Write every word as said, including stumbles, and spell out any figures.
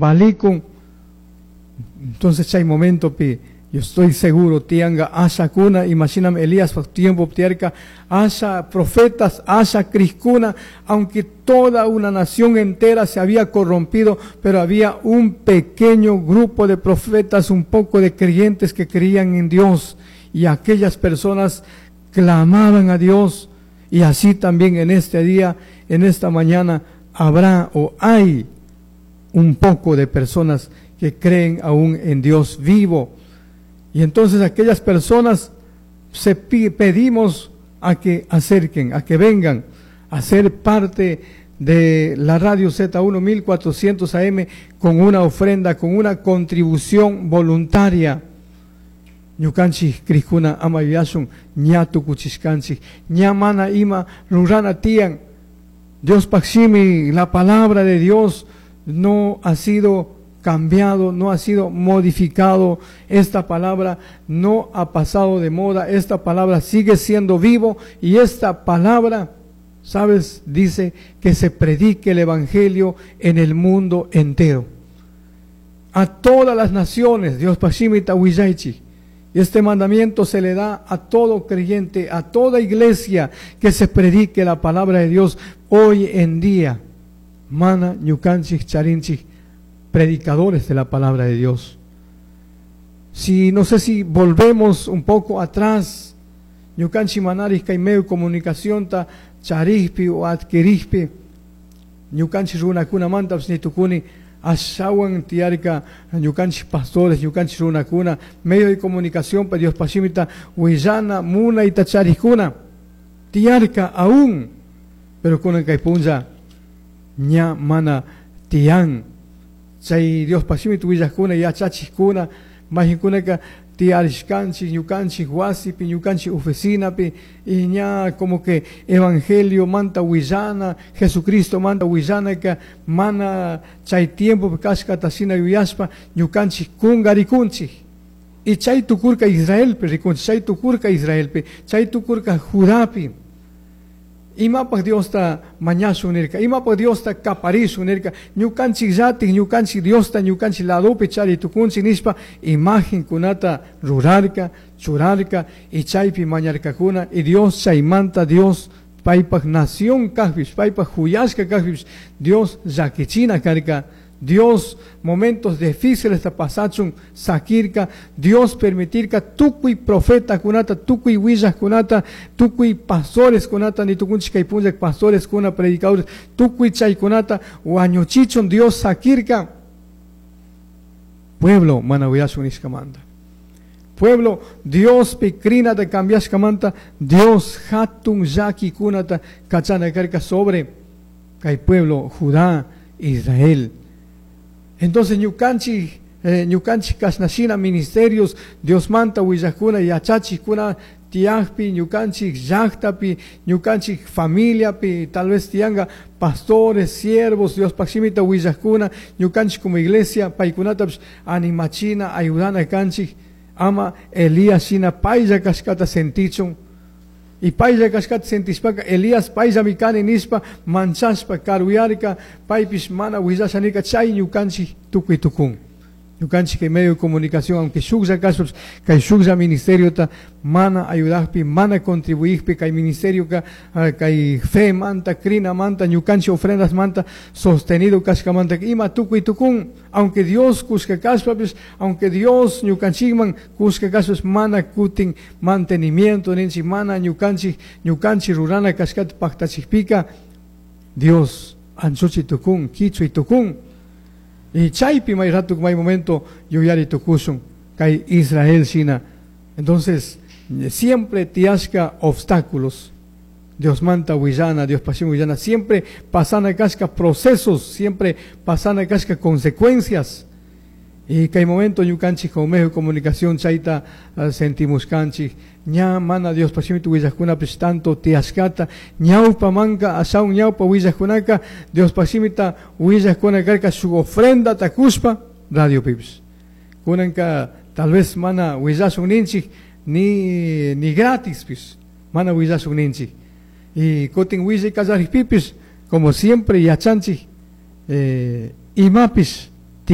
Valikun. Entonces chay momentopi yo estoy seguro tianga ashakuna, imaginam Elías tiempo tiyarka asha profetas, asha crijkuna, aunque toda una nación entera se había corrompido, pero había un pequeño grupo de profetas, un poco de creyentes que creían en Dios, y aquellas personas clamaban a Dios. Y así también en este día, en esta mañana, habrá o hay un poco de personas que creen aún en Dios vivo. Y entonces aquellas personas se pedimos a que acerquen, a que vengan a ser parte de la radio Z uno mil cuatrocientos A M con una ofrenda, con una contribución voluntaria. Ñukanchik crijkuna ama yuyashun ña tukuchishkanchik, ña mana ima rurana tiyan. Dios paximi, la palabra de Dios no ha sido cambiado, no ha sido modificado. Esta palabra no ha pasado de moda, esta palabra sigue siendo vivo, y esta palabra, ¿sabes? Dice que se predique el evangelio en el mundo entero, a todas las naciones. Dios paximita huillaichi. Y este mandamiento se le da a todo creyente, a toda iglesia, que se predique la palabra de Dios hoy en día. Mana, ñukanchik, charinchik, predicadores de la palabra de Dios. Si, no sé si volvemos un poco atrás, ñukanchik manaris kay medio comunicación ta charijpi o adquirijpi, ñukanchik runakuna mantapis nitukuni, ashawan tiyarka ñukanchik pastores, ñukanchik runakuna, medio de comunicación pa Dios pashimita willana munayta charijkuna, tiyarka aún, pero kunan kay punlla ña mana tiyan. Chay Dios pashimita willajkuna, yachachijkuna, majinkunaka tiyarishkanchik, ñukanchik wasipi, ñukanchik oficinapi, y ña como que evangelio manta willana, Jesucristo manta willanaka, mana chay tiempo kashkata shina yuyashpa, ñukanchik kungarikunchik. Y chay tukurka Israelpi rikunchik, chay tukurka Israelpi, chay tukurka Judapi. Imapaj Diosta mañashun nirka, imapaj Diosta kaparishun nirka, ñukanchik llatik, ñukanchik Diosta, ñukanchik ladopi chari tukunchik nishpa, imagen kunata rurarka, churarka, y chaypi mañarkakuna, y Dios chaymanta, Dios paypaj nación kajpish, paypaj juyashka kajpish, Dios llakichina karka, Dios momentos difíciles ta pasachun sakirka, Dios permitirka tukuy profeta kunata, tukuy willaj kunata, tukuy pastores kunata, ni tukunchik kay punlla pastores kuna, predicadores, tukuy chay kunata, wañuchichun Dios sakirka. Pueblo mana willashun nishkamanta. Pueblo, Dios pikrina te cambiashkamanta, Dios hatun llaki kunata kachana karka sobre kay pueblo Judá, Israel. Entonces ñukanchik, eh, ñukanchik kashnashina ministerios, Dios manta willajkuna, yachachikuna, tiyajpi, ñukanchik llaktapi, ñukanchik familiapi, tal vez tiyanga pastores, siervos, Dios pakshimita willajkuna, ñukanchik como iglesia, paykunatapish animachina, ayudana kanchik, ama Elías shina paylla kashkata sentichun. Y paylla kashkata sentishpaka, Elías payllami kani nishpa, manchashpa, karuyarka, paypish mana willasha nirka, chay ñukanchik tukuy tukun. Ñukanchik kay medio de comunicación, aunque shuklla kashpapish, kay shuklla ministeriota mana ayudajpi, mana contribuijpi, kay ministerio ka, ah, kay fe manta, crina manta, ñukanchik ofrendas manta, sostenido kashkamanta, ima tukuy tukun, aunque Dios kushka kashpapish, aunque Dios ñukanchikman kushka kashpapish, mana kutin mantenimiento ninchik, mana ñukanchik, ñukanchik rurana kashkata paktachikpika, Dios anchuchi tukun, kichuy tukun. Y chaypi may rato, may momento yuyari tukushun kay Israel shina. Entonces, siempre tiyashka obstáculos. Dios manta willana, Dios pasión willana, siempre pasana kashka procesos, siempre pasana kashka consecuencias. Y kay momento ñukanchik con medio de comunicación chayta, uh, sentimos kanchik, ña mana Dios pasión tu willajkunapish tanto tiyashkata, ñawpa manka ashaun ñawpa willajkunaka, Dios pasimita willajkuna karka su ofrenda takushpa radio pipis. Kunanka tal vez mana willashun ninchik ni, ni gratis pis, mana willashun ninchik. Y kutin willay kallarikpipis, como siempre yachanchik, eh, imapis